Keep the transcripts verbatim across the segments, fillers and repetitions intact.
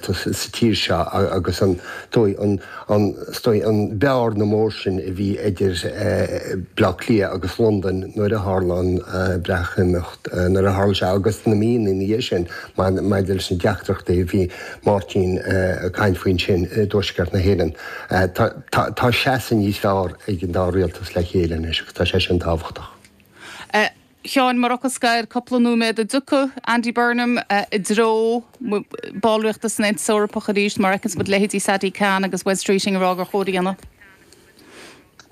sa tír seo agus an dóigh an an dóigh an bearna mór sin a bhí idir Bleá Cliath agus Londain nuair a tharla an Breatimeacht nuair a tharla sé agus na míonna ina dhiaidh sin maidir leis na deacrachtaí a bhí Máirtín ag caint faoin sin i dTuaisceart na hÉireann. Tá seasamh níos fearr ag an dá rialtas le chéile anois agus tá sé sin tábhachtach. Sheáin mar fhocal scoir cúpla nóiméad an dtiocfaidh Andy Burnham i dtreo ballraíochta san Aontas Eorpach arís mar a fheiceanns muid leithéidí Sadiq Khan agus Wes Streeting ag rá gur chóir a dhéanamh.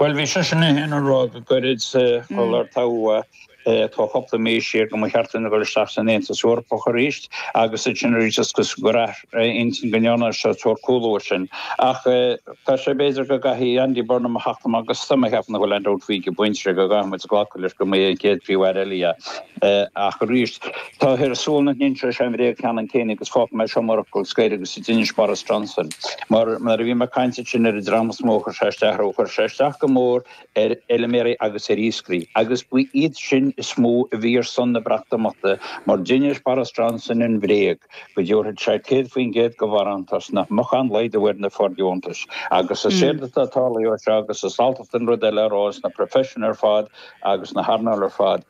Well bhí seisean é féin ag rá go gairid sular toghadh é tá cúpla mí siar go mba cheart dúinn a dhul isteach san Aontas Eorpach arís agus ansin arís is cosúil gur athraigh a intinn go ndearna sé sórt cúlú air sin. Ach tá sé b'fhéidir go gcaithfidh Andy Burnham a theacht amach agus tá mé ag ceapadh nach bhfuil aon dabht faoi go bpointe go gcaithfidh muid glacadh leis go mbeidh an chéad Phríomh-Aire eile é. Ach arís, tá ar súil nach n-inseoidh sé an bhréag ceannann céanna agus fágfaidh mé seo mar fhocal scoir agus a d'inis Boris Johnson. Mar nuair a bhí mé ag caint ansin ar an dream is mó a chuir sé isteach orthu, chuir sé isteach go mór ar fheilméaraí agus ar iascairí agus ba iad sin is mó a bhí ar son na Breatimeachta mar d'inis Boris Johnson an bhréag go dtabharfadh sé céad faoin gcéad de bharántas nach mbeadh aon laghdú ar na fóirdheontais agus is éard atá tarlaithe ó seo agus is alltacht an rud eile a rá sna proifisiúin ar fad agus na hearnáil ar fad,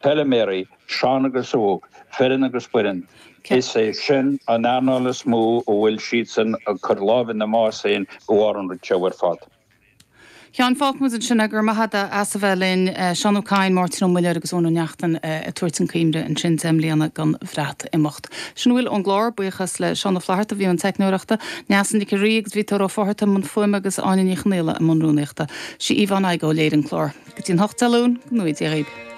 feilméaraí, sean agus óg, fireann agus baineann, is é sin an earnáil is mó a bhfuil siadsan ag cur lámh ina mbás féin de bharr an rud seo ar fad. Sheáin, fágfaidh muid ansin é, go raibh maith agat as a bheith linn. Seán Ó Cadhain, Máirtín Ó Muilleoir agus Eoin Ó Neachtain ag tabhairt an coimre ansin deich mbliana den Bhreatimeacht. Sin a bhfuil ón gclár, buíochas le Seán Ó Flatharta a bhí i mbun teicneoireachta, Neasa Nic an Rí agus Viotóir Ó Fátharta i mbun fuaime agus Áine Ní Chonaola i mbun rúnaíochta. Sí Yvonne Igoe a léirigh an clár. Go dtí an hocht Dé Luain, go ngnóthaí Dia dhaoib.